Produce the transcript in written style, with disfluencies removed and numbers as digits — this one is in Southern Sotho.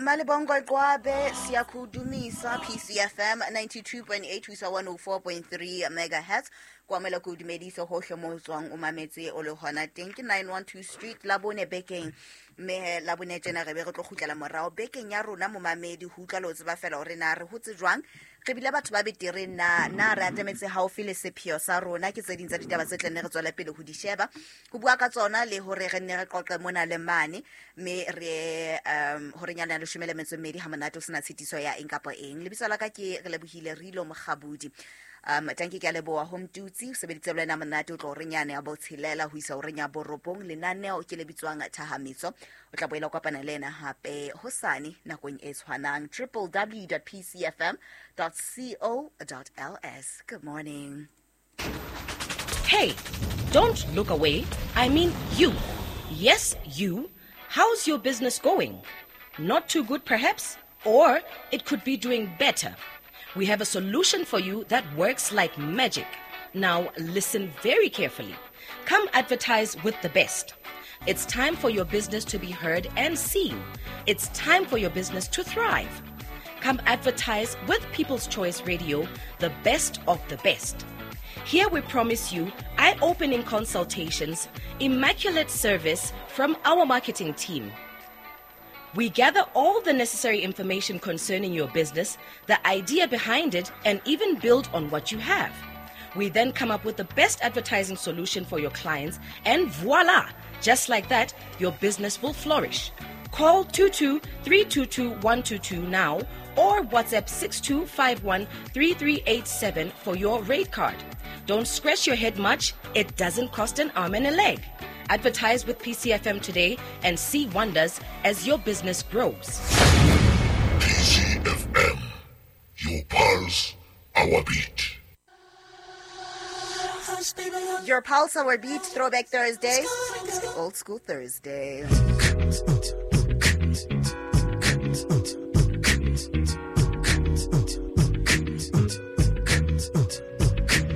Malibongwe Qwabe, Siyakudumisa, PCFM 92.8 ho isa 104.3 megahertz. Kwamela ko dumedise hohle mo o tswang o mametse o le hona teng ke 912 Street la bone bekeng, mme la bone tjena re be re tlo kgutlela morao bekeng ya rona momamedi ho utlwa le ho tseba fela hore na re hotse jwang, re bile batho ba betere na, na re atametse haufi le sepheo sa rona. Ke tse ding tsa ditaba tse tla nne re tswele pele ho di sheba, ho bua ka tsona le hore re nne re qoqe mona le mane, mme re hore nyana ya 12 ha monate o sena tshitiso ya eng kapa eng. Lebitso la ka ke re lebohile Rilo Mokgabudi. Tanki ke a leboha ho Mtutsi, o sebeditse le wena monate o tlo re nyane ya botshelela ho isa horeng ya borobong. Lenaneo ke le bitswang Thahametso. O tla boela o kopana le ena hape hosane nakong e tshwanang. www.pcfm.co.ls. Good morning. Hey, don't look away. I mean you. Yes, you. How's your business going? Not too good, perhaps? Or it could be doing better. We have a solution for you that works like magic. Now, listen very carefully. Come advertise with the best. It's time for your business to be heard and seen. It's time for your business to thrive. Come advertise with People's Choice Radio, the best of the best. Here we promise you eye-opening consultations, immaculate service from our marketing team. We gather all the necessary information concerning your business, the idea behind it, and even build on what you have. We then come up with the best advertising solution for your clients, and voila! Just like that, your business will flourish. Call 22-322-122 now or WhatsApp 6251-3387 for your rate card. Don't scratch your head much. It doesn't cost an arm and a leg. Advertise with PCFM today and see wonders as your business grows. PCFM, your pulse, our beat. Your pulse, our beat, Throwback Thursday, Old School Thursday.